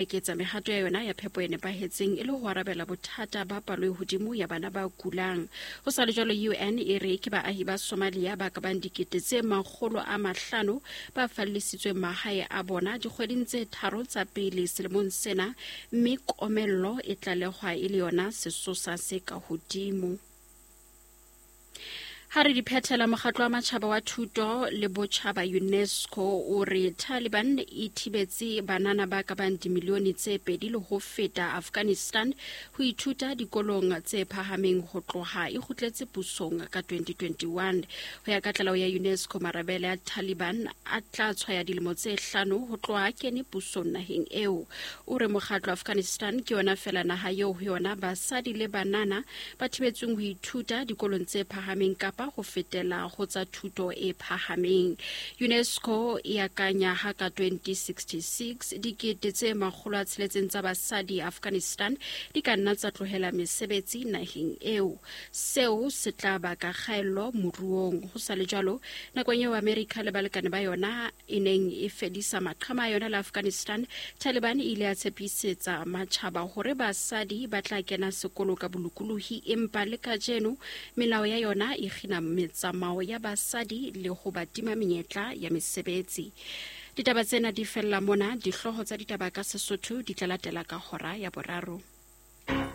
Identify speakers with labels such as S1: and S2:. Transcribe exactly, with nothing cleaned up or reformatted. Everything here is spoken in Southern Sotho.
S1: Eketsa mehato ya yona ya phepo e nepahetseng e le ho arabela bothata ba palo e hodimo ya bana ba kulang. Ho sa le jwalo, U N e re ke baahi ba Somalia ba ka bang dikete tse makgolo a mahlano ba fallisitsweng mahae a bona dikgweding tse tharo tsa pele selemong sena, mme komello e tlalehwa e le yona sesosa se ka hodimo. Ha re di phethela, mokgatlo wa matjhaba wa thuto le botjhaba, UNESCO, o re Taliban e thibetse banana ba ka bang dimilione tse pedi le ho feta Afghanistan ho ithuta dikolong tse phahameng ho tloha e kgutletse pusong ka twenty twenty-one. Ho ya ka tlaleho ya UNESCO, marabele a Taliban a tla tshwaya dilemo tse hlano ho tloha a kene pusong naheng eo. O re mokgatlo Afghanistan ke yona fela naha eo ho yona basadi le banana ba thibetsweng ho ithuta dikolong tse phahameng kapa ho fetela ho tsa thuto e phahameng. UNESCO e akanya ha ka twenty sixty-six dikete tse makgolo a tsheletseng tsa basadi Afghanistan di ka nna tsa tlohela mesebetsi naheng eo. Seo se tla baka kgaello moruong. Ho sa le jwalo, nakong eo America le balekane ba yona e neng e fedisa maqhama a yona le Afghanistan, Taliban e ile ya tshepisetsa matjhaba hore basadi ba tla kena sekolo ka bolokolohi, empa le kajeno melao ya yona e kgina metsamao ya basadi le ho ba tima menyetla ya mesebetsi. Ditaba tsena di fella mona. Dihlooho tsa ditaba ka Sesotho di tla latela ka hora ya boraro.